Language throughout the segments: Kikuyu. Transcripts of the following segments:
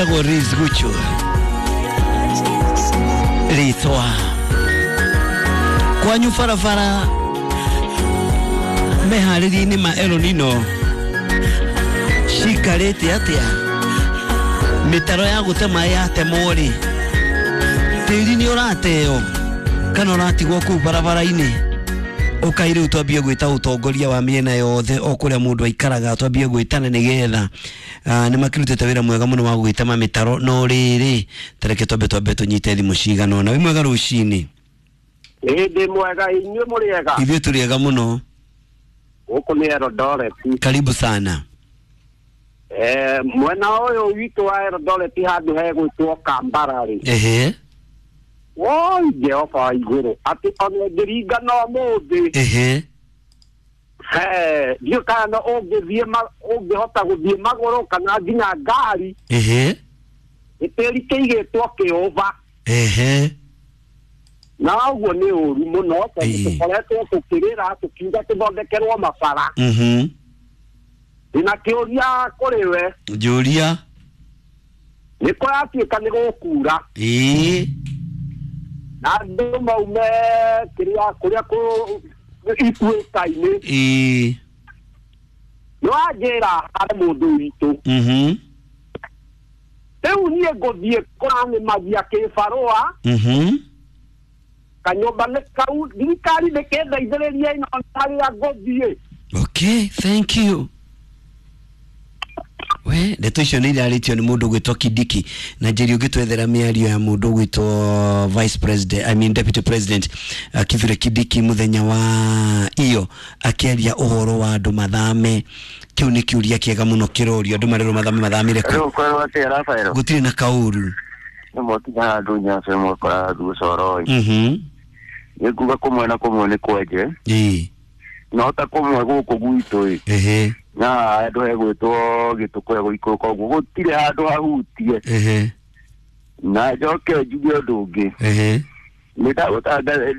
Etagwo Riz Gucho ritwa kwanyu barabara meharĩria-inĩ ma El Nino cikarĩte atĩa mĩtaro ya gũte maĩ yatemwo rĩ tĩri nĩ ũrateo kana ũratigwo kũu barabara-inĩ ũkai rĩu twambie gwĩta ũtongoria wa mĩena yothe o kũrĩa mũndũ aikaraga twambie gwĩtana nĩgetha nĩ makĩrutĩte wĩra mwega mũno wa gũgĩtema mĩtaro no rĩrĩ tareke twambe tũnyite thimũ cigana ũna. Wĩ mwega rũcinĩ? Ĩ ndĩ mwega, inyuĩ mũrĩ ega? Ithuĩ tũrĩ ega mũno. Gũkũ nĩ Eldoret. Karibu sana. Mwena ũyũ witũ wa Eldoret handũ hegwĩtwo Kambara rĩ. Ehe. Woi Jehova wa igũrũ atĩ ona ũngĩringa no mũthĩ. Ehe. Ndiũĩ kana no ũngĩthiĩ ũngĩhota gũthiĩ magũrũ kana nginya ngari. Ehe. Gĩtĩri kĩigĩtwo kĩũba. Ehe. Na ũguo nĩ ũru mũno tondũ tũkoretwo tũkĩrĩra tũkiuga tũthondekerwo mabara. Ndĩna kĩũria kũrĩ we. Njũria. Nĩ kũratuĩka nĩ gũkura. Ĩĩ. Na andũ maume kĩrĩa kũrĩa ituĩka-inĩ. Ĩĩ. Nĩ wanjĩra harĩ mũndũ witũ. Rĩu niĩ ngũthiĩ kũranĩmagia kĩbarũa. Kanyũmba nĩ kau thirikari ndĩkĩndeithĩrĩrie ĩno harĩa ngũthiĩ. Okay, thank you. We ndeto icio nĩ irarĩtio nĩ mũndũ ũgwĩtwo Kindiki na njeri ũngĩtwethera mĩario ya mũndũ ũgwĩtwo Vice President, I mean Deputy President Kithure Kindiki mũthenya wa iyo akĩaria ũhoro wa andũ mathame. Kĩu nĩ kĩũria kĩega mũno kĩrorio andũ marerwo mathame mathamire kũ? Rĩu kwerwo atĩa Rafael? Gũtirĩ na kaũru. Nĩ mwakinya handũ Nyace mwakora handũ Ũcoroi. Nĩ nguga kũmwe na kũmwe nĩ kwenje. Ĩĩ. No ta kũmwe gũkũ gwitũ ĩ. Ehe. Na handũ hegwĩtwo Gĩtũkũya gũikũrũka ũguo gũtirĩ handũ hahutie. Ehe. Na njoke njuge ũndũ ũngĩ. Ehe. Nĩ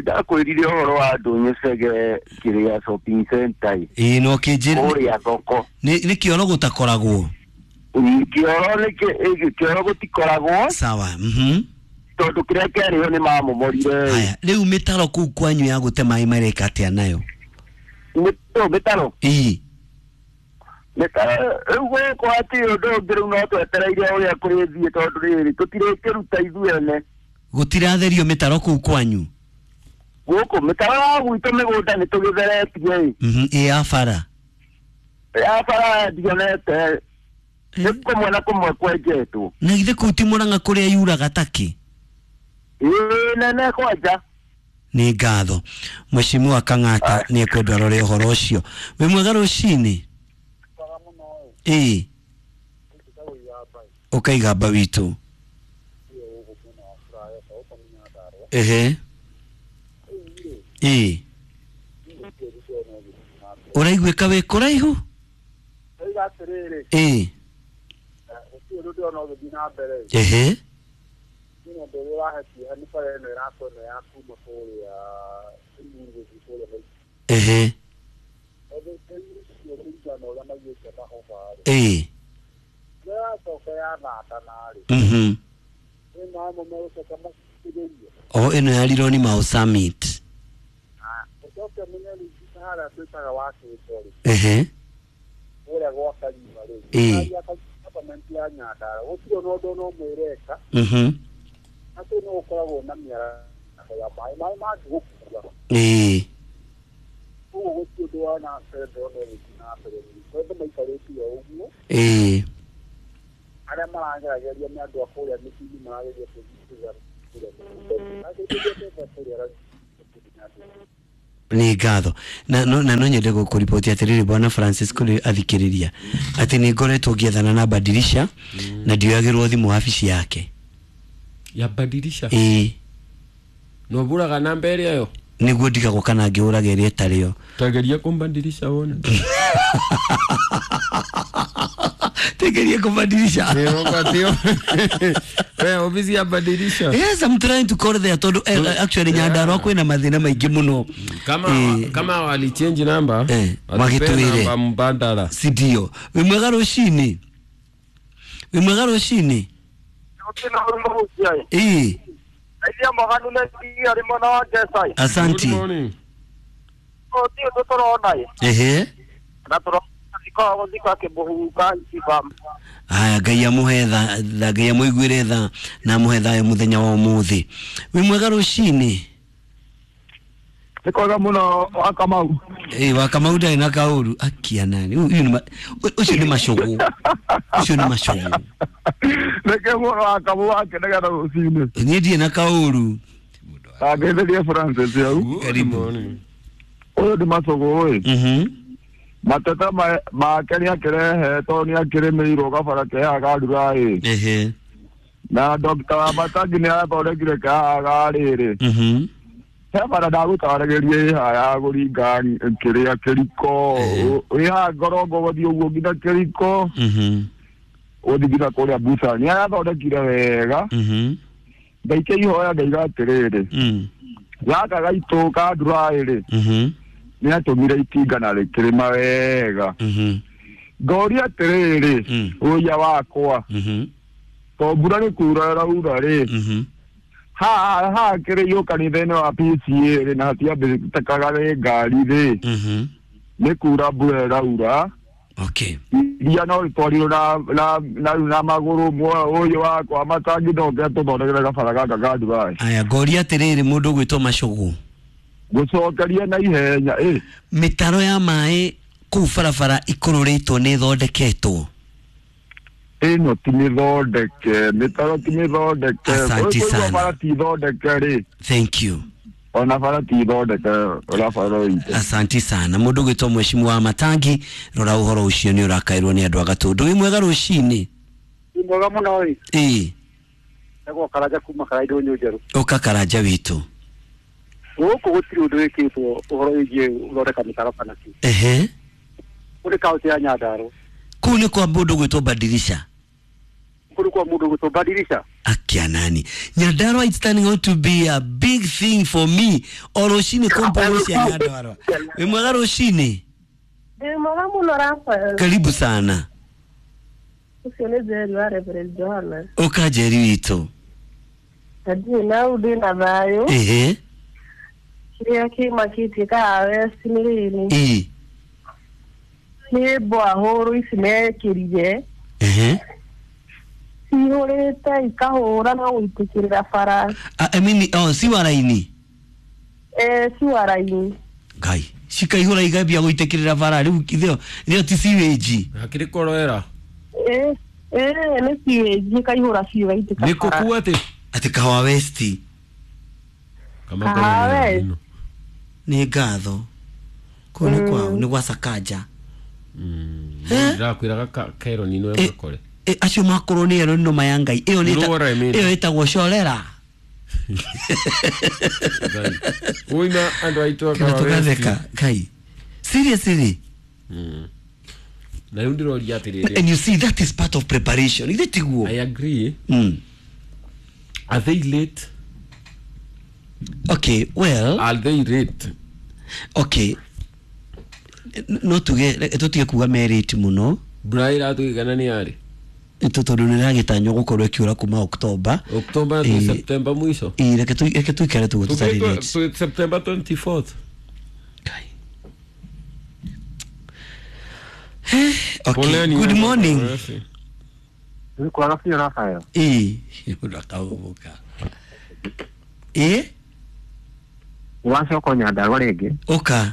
ndakwĩrire ũhoro wa andũ Nyecege kĩrĩa shopping center ĩ. Ĩĩ no kĩnjĩre. Kũrĩa thoko. Nĩ kĩoro gũtakoragwo. Kĩoro nĩ kĩoro gũtikoragwo. Sawa. Tondũ kĩrĩa kĩarĩho nĩ mamomorire. Haya, rĩu mĩtaro kũu kwanyu ya gũte maĩ mareka atĩa nayo? Mĩtaro? Ĩĩ. Mĩtaro rĩu gũkũ hatirĩ ũndũ ũngĩ rĩu no twetereire ũrĩa kũrĩthiĩ tondũ rĩrĩ tũtirĩkĩruta ithuĩ ene. Gũtiratherio mĩtaro kũu kwanyu? Gũkũ mĩtaro ya gwitũ mĩgũnda nĩ tũgĩtheretie ĩ. Ĩ ya bara? Ya bara ndionete. Nĩ kũmwe na kũmwe kwenjetwo. Na githĩ kũu ti Mũrang'a kũrĩa yuraga takĩ? Ĩĩ nene kwanja. Nĩ ngatho. Mheshimiwa Kang'ata nĩ ekwendwo arore ũhoro ũcio. Wĩ mwega rũcinĩ? Ĩĩ. Ũkaigamba witũ. Ehe. Ĩĩ. Ũraiguĩka wĩ kũraihu? Ĩĩ. Ehe. Ehe. Ĩĩ. O ĩno ya Rironi Mau Summit. Ehe. Ĩĩ. Ĩĩ. Ĩĩ. Nĩ ngatho. Na no nyende gũkũriboti atĩrĩrĩ bwana Francis kũrĩ athikĩrĩria atĩ nĩ ngoretwo ngĩethana na Badilisha na ndioyagĩrwo thimũ wabici yake. Ya Badilisha? Ĩĩ. No buraga namba ĩrĩa yo? Nĩguo ndigagwo kana ngĩũraga ĩrĩa ĩtarĩ yo. Tageria kumbadilisha wone. Tegeria kumbadilisha. Ofisi ya Badilisha. Yes, I'm trying to call there tondu actually Nyandarua kwina mathina maingi muno. Kama wali change number, magitwire namba mbadala. Si ndio. Wi mwega rucini. Wi mwega rucini. Ii. Asanti. Good morning. Ehe. Aya Ngai amuhe tha, Ngai amuiguire tha na amuhe thayũ muthenya wa umuthi. Wi mwega rucini? Nĩ kwega muno wa Kamau. Wa Kamau ndarĩ na kaũru akia nani. Ũcio nĩ macũgũ. Ũcio nĩ macũgũ. Nĩkĩ mũno wa Kamau akenaga rũcinĩ? Niĩ ndirĩ na kaũru. Angetherie Francis hau. Karibu. Ũyũ nĩ macũgũ ĩ. Mateta make nĩ akĩrehe tondũ nĩ akĩrĩmĩirwo gabara kehaga karura ĩ. Ehe. Na Dr. Wamatangi nĩ arathondekire kehaga ga rĩrĩ. He bara ndagũtaragĩria ĩ haha ya kũringa kĩrĩa kĩriko ĩ haha ngorongo gũthiĩ ũguo nginya kĩriko gũthiĩ nginya kũrĩa Busa nĩ arathondekire wega. Ngaikia ihoya ngaiga atĩrĩrĩ, gaka gaitũ ka ndura ĩrĩ nĩ atũmire itinga na rĩkĩrĩma wega. Ngoria atĩrĩrĩ, ũia wakwa to mbura nĩ kura ĩraura rĩ, ha kĩrĩ yũ kanitha-inĩ wa PCA rĩ, na hatiambĩtĩkaga nĩ ngari rĩ, nĩ kura mbura ĩraura. Okay. Iria no rĩtwarirwo na magũrũ ũyũ wakwa matangi ndoke tũthondekere gabara gaka ka Dubai. Aya ngoria atĩrĩrĩ, mũndũ ũgwĩtwo Macũgũ, gũcokeria na ihenya ĩ. Mĩtaro ya maĩ kũu barabara ikũrũrĩtwo nĩ ĩthondeketwo? Ĩno ti mĩthondeke, mĩtaro ti mĩthondeke. Asante sana. Bara ti thondeke rĩ. Thank you. Ona bara ti thondeke ũrĩa bara ĩitũ. Asante sana. Mũndũ ũgwĩtwo Mheshimiwa wa Matangi, rora ũhoro ũcio nĩ ũrakairwo nĩ andũ a Gatũndũ. Wĩ mwega rũcinĩ? Wĩ mwega mũno ĩ. Ĩ. Ndagwo Karanja kuma Karaindũ Nyũnjerũ. Ũka Karanja witũ. Gũkũ gũtirĩ ũndũ wĩkĩtwo ũhoro wĩgiĩ gũthondeka mĩtaro kana kĩ. Ehe. Kũrĩ kaũntĩ ya Nyandarua. Kũu nĩ kwa mũndũ ũgwĩtwo Badirisha. Kũrĩ kwa mũndũ ũgwĩtwo Badirisha. Akia nani. Nyandarua it's turning out to be a big thing for me. O rũcinĩ kompo cia Nyandarua. Wĩ mwega rũcinĩ? Wĩ mwega mũno Raphael. Karibu sana. Ũcio nĩ Njeri wa Reverend Johanna. Ũka Njeri witũ. Ndirĩ na ũndũ na thayũ. Ehe. Kĩrĩa kĩmakĩtie Kahawa West nĩ rĩrĩ. Ĩ. Nĩ mbwahũrũ ici mekĩrire. Ehe. Cihũrĩte ikahũra na gũitĩkĩrĩra bara. I mean, oh, ciwara-inĩ? Ciwara-inĩ. Ngai, cikaihũra ikambia gũitĩkĩrĩra bara rĩu itheo ti sewage. Hakĩrĩ koroera. Nĩ sewage ikaihũra biũ igaitĩka bara. Nĩ kũkua atĩ? Atĩ Kahawa West. Kahawa West. Nĩ ngatho. Kũu nĩ kwao, nĩ gwa Sakaja. Ndĩrakwĩraga Kero nino ya makore. Acio makorwo nĩ ero no maya Ngai. Ĩyo nĩ ĩyo ĩtagwo corera. Uima andũ aitũ a Kahawa West. Ngai. Seriously. Na rĩu ndĩroria atĩrĩrĩ. And you see that is part of preparation. Ithe tiguo. I agree. Are they late? Okay, well, are they late? Okay. No tuge tutige kuga merate muno. Mbura ĩratũigana nĩ yarĩ? Tondũ nĩ ĩragĩtanywo gũkorwo ĩkiura kuma October. October to September mũico. Ĩ, reke tũikare tũguo tũtarĩ late. September 24th. Kai. Okay, good morning. Nĩ kwaga biũ Raphael. Ĩ, ũrakaũka. Ĩ? Wacoka Nyandarua rĩngĩ. Ũka.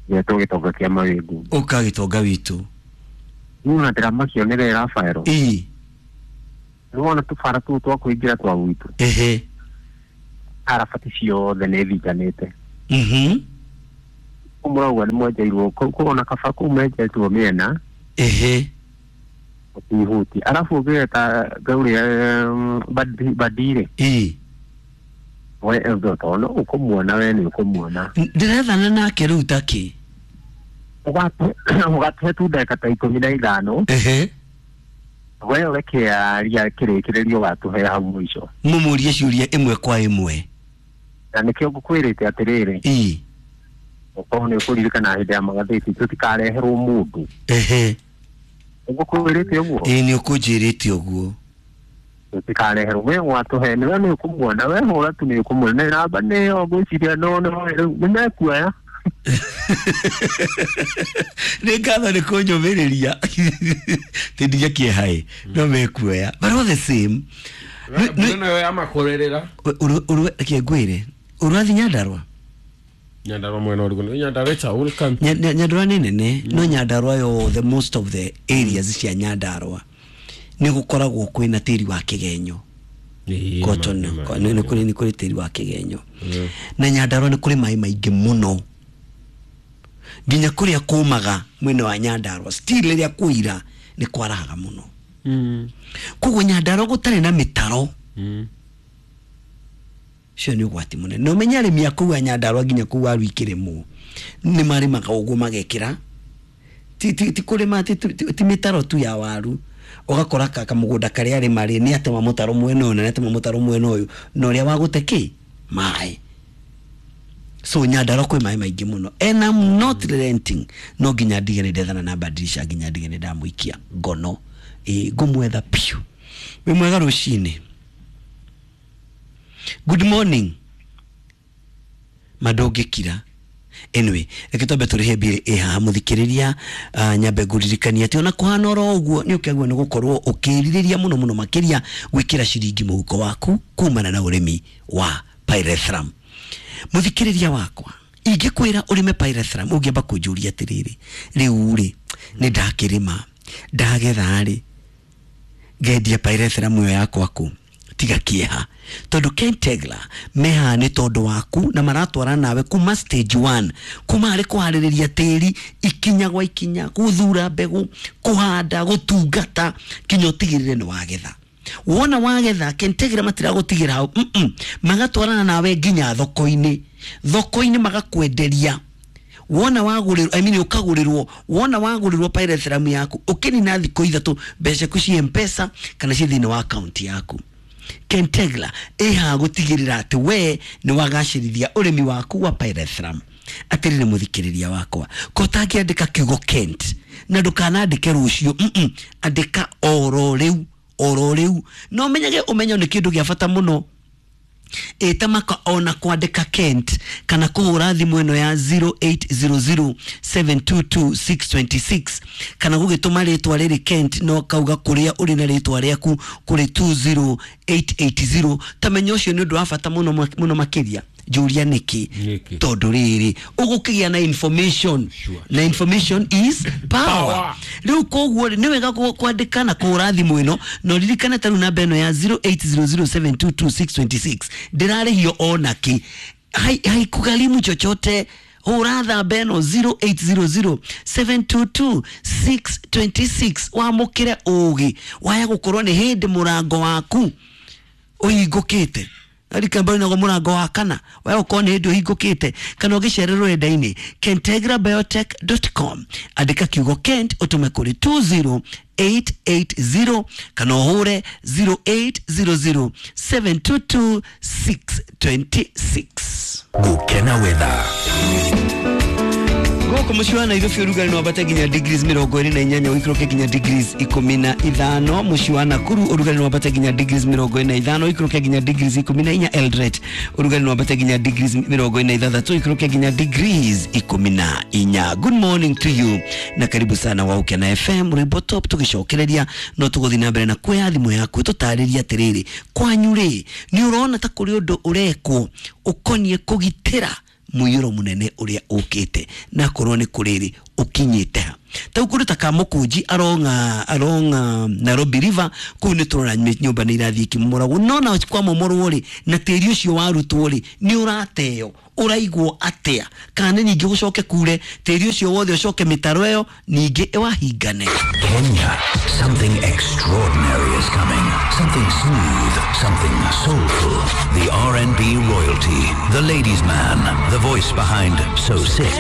Getwo gĩtonga kĩa mawĩngu. Ũka gĩtonga witũ. Niĩ ona ndĩramakio nĩ we Raphael. Ĩ. Nĩwona tũbara tũu twa kũingĩra twa gwitũ. Ehe. Arabati ciothe nĩ thinganĩte. Kũu mũrauga nĩ mwenjeirwo, kũu ona kaba kũu menjetwo mĩena. Ehe. Ũtihuti. Arabu ũngĩgeta ngaũrĩa Badire. Ĩ. We tondũ ũkũmuona we nĩ ũkũmuona. Ndĩrethana nake rĩu takĩ. Ũgatũhe tu ndagĩka ta 15. Ehe. We ũreke aria kĩrĩkĩrĩrio ũgatũhe hau mũico. Mũmũrie ciũria ĩmwe kwa ĩmwe. Na nĩkĩo ngũkwĩrĩte atĩrĩrĩ. Ĩ. Okorwo nĩ ũkũririkana hĩndĩ ya magathĩti tũtikareherwo mũndũ. Ehe. Ngũkwĩrĩte ũguo? Ĩ, nĩ ũkũnjĩrĩte ũguo. Tũtikareherwo we watũhe nĩwe nĩ ũkũmuona we hũra tu nĩ ũkũmuona namba nĩyo ngwĩciria no no rĩu nĩ mekuoya. Nĩ ngatho nĩ kũnyũmĩrĩria tindige kĩeha ĩ no mekuoya but all the same Mbura nayo yamakorerera. Reke ngwĩre ũrathiĩ Nyandarua. Nyandarua mwena ũrĩkũ? Nĩ Nyandarua it's a whole country. Nyandarua nĩ nene no Nyandarua yothe most of the areas cia Nyandarua nĩ gũkoragwo kwĩna tĩri wa kĩgenyo. Cotton nĩ kũrĩ tĩri wa kĩgenyo na Nyandarua nĩ kũrĩ maĩ maingĩ mũno nginya kũrĩa kũmaga mwena wa Nyandarua still rĩrĩa kũira nĩ kwarahaga mũno. Koguo Nyandarua gũtarĩ na mĩtaro cio nĩ ũgwati mũnene na ũmenye arĩmi a kũu a Nyandarua nginya kũu waru ikĩrĩmwo nĩ marĩmaga ũguo magekĩra ti kũrĩma ti mĩtaro tu ya waru ũgakora kamũgũnda karĩa arĩma rĩ nĩ atema mũtaro mwena ũyũ na nĩ atema mũtaro mwena ũyũ na ũrĩa wa gũte kĩ maĩ. So Nyandarua kwĩ maĩ maingĩ mũno and I'm not relenting no nginya ndige nĩ ndethana na badilisha nginya ndige nĩ ndamũikia ngono ngũmwetha piũ. Wĩ mwega rũcinĩ. Good morning. Madũngĩkira. Anyway, reke twambe tũrĩhe mbirĩ ĩ haha mũthikĩrĩria nyambe ngũririkania atĩ ona kũhana oro ũguo nĩ ũkĩagĩrĩirwo nĩ gũkorwo ũkĩrirĩria mũno mũno makĩria gwĩkĩra ciringi mũhuko waku kumana na ũrĩmi wa pyrethrum. Mũthikĩrĩria wakwa ingĩkwĩra ũrĩme pyrethrum ũngĩamba kũnjũria atĩrĩrĩ rĩu rĩ nĩ ndakĩrĩma ndagetha rĩ ngendia pyrethrum ĩyo yakwa kũ tiga kĩeha tondũ Kentegla meha nĩ tondũ waku na maratwara nawe kuma stage 1 kuma harĩ kũharĩrĩria tĩri ikinya gwa ikinya gũthura mbegũ kũhanda gũtungata kinya ũtigĩrĩre nĩ wagetha. Wona wagetha Kentegra matiragũtigĩra hau magatwarana nawe nginya thoko-inĩ thoko-inĩ magakwenderia wona wagũrĩrwo I mean ũkagũrĩrwo wona wagũrĩrwo pyrethrum yaku ũkĩnina thikũ ithatũ mbeca ciaku ciĩ M-Pesa kana ciĩ thĩinĩ wa akaunti yaku. Kentegla ĩhaha gũtigĩrĩra atĩ we nĩ wagacĩrithia ũrĩmi waku wa pyrethrum. Atĩrĩrĩ mũthikĩrĩria wakwa ko ũtangĩandĩka kiugo Kent na ndũkanandĩke rũciũ andĩka oro rĩu oro rĩu na ũmenyage ũmenyo nĩ kĩndũ gĩa bata mũno ĩtamaka ona kwandĩka Kent kana kũhũra thimũ ĩno ya 0800 722 626 kana gũgĩtũma rĩtwa rĩrĩ Kent no kauga kũrĩa ũrĩ na rĩtwa rĩaku kũrĩ 20880 tamenya ũcio nĩ ũndũ wa bata mũno mũno makĩria. Njũria nĩkĩ tondũ rĩrĩ ũgũkĩgĩa na information na information is power. Rĩu koguo nĩ wega kwandĩka na kũhũra thimũ ĩno na ũririkane ta rĩu namba ĩno ya 0800722626 ndĩrarĩhio ona kĩ haikugharimu chochote. Hũra namba ĩno 0800 722 626 wamũkĩre ũgĩ waya gũkorwo nĩ hĩndĩ mũrango waku ũhingũkĩte arikambari nago mũrango wa kana waya gũkorwo nĩ hĩndĩ ũhingũkĩte kana ũgĩcere rũrenda-inĩ kentegrabiotech.com andĩka kiugo Kent ũtũme kũrĩ 20880 kana ũhũre 0800 722 626. Gũkena weather. Gũkũ mũciĩ wa Nairobi ũrugarĩ no wambate nginya degrees 28 ũikũrũke nginya degrees 15. Mũciĩ wa Nakuru ũrugarĩ no wambate nginya degrees 45 ũikũrũke nginya degrees 14. Eldoret ũrugarĩ no wambate nginya degrees 46 ũikũrũke nginya degrees 14. Good morning to you na karibu sana wa Ukena FM Rwĩmbo Top tũgĩcokereria no tũgũthiĩ na mbere na kuoya thimũ yaku tũtarĩrie atĩrĩrĩ kwanyu rĩ nĩ ũrona ta kũrĩ ũndũ ũrekwo ũkoniĩ kũgitĩra mũiyũro mũnene ũrĩa ũkĩte na korwo nĩ kũrĩrĩ ũkinyĩte ha tau kũndũ ta Kamũkũnji aronga Nairobi River kũu nĩ tũrona nyũmba nĩ irathiĩ ikĩmomoragwo no na kwamomorwo rĩ na tĩri ũcio warutwo rĩ nĩ ũrateo ũraigwo atĩa kana nĩ ningĩ gũcoke kure tĩri ũcio wothe ũcoke mĩtaro ĩyo ningĩ ĩwahingane. Kenya, something extraordinary is coming. Something smooth, something soulful. The R&B royalty, the ladies man, the voice behind So Sick,